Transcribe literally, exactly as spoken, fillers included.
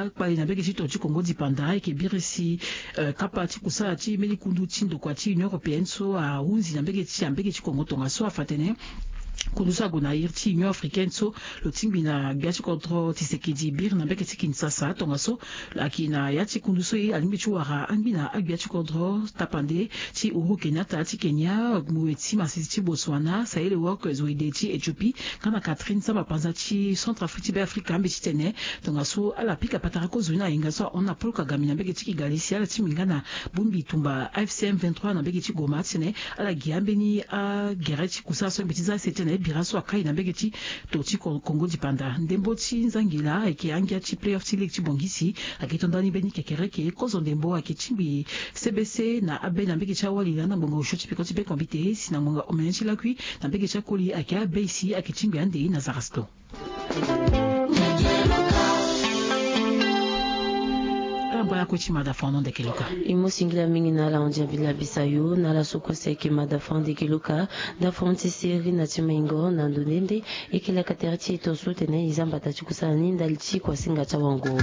Kpali na mbege ti to ti Congo dipanda ayeke birisi kapa ti kusala ti mbeni kundu ti ndokua ti Union européenne so ahunzi na mbege ti ambege ti Congo tongaso afa tene kundu so ague na iri ti Union africaine so lo tingbi na gbia ti kodro Tshisekedi biri na mbege ti Kinshasa tongaso. Ayeke na ya ti kundu so ye alingbi ti wara angbi na agbia ti kodro tapande ti Uhuru Kenyatta ti Kenya, Mueti Masisi ti Botswana, Sahle Work Zewde ti Ethiopie, nga na Catherine Samba Panza ti Centrafrique ti Beafrika ambeti tene tongaso ala pika patara kozo ni na yenga so ahon na Paul Kagame na mbege ti Kigali si ala tingbi nga na bongbi tumba A F C M vingt-trois na mbege ti Goma titene ala gi ambeni agere ti kusala so mbeti za ese titene bira so akai na mbege ti to ti Congo dipanda. Ndembo ti nzangila ayeke angia ti playoff ti ligue ti Bongisi ayeke to ndani mbeni kekereke kozo ndembo ayeke tingbi C B C na abe na mbege ti awali landa ngbonga osio ti peko ti be kombite si na ngbonga omene ti lakui na mbege ti akoli ayeke abe si ayeke tingbi ande na Zarasto. Ala bala kue ti mada fano ndeke loka. E mu singila mingi na ala hon diambi labisa yo na ala so kue si ayeke mada fano ndeke loka. Nda fano ti seri na ti maingo na ndo nde nde e yeke laka tere ti e to so tene e za mbata ti kusala ni ndali ti kuasinga ti awango.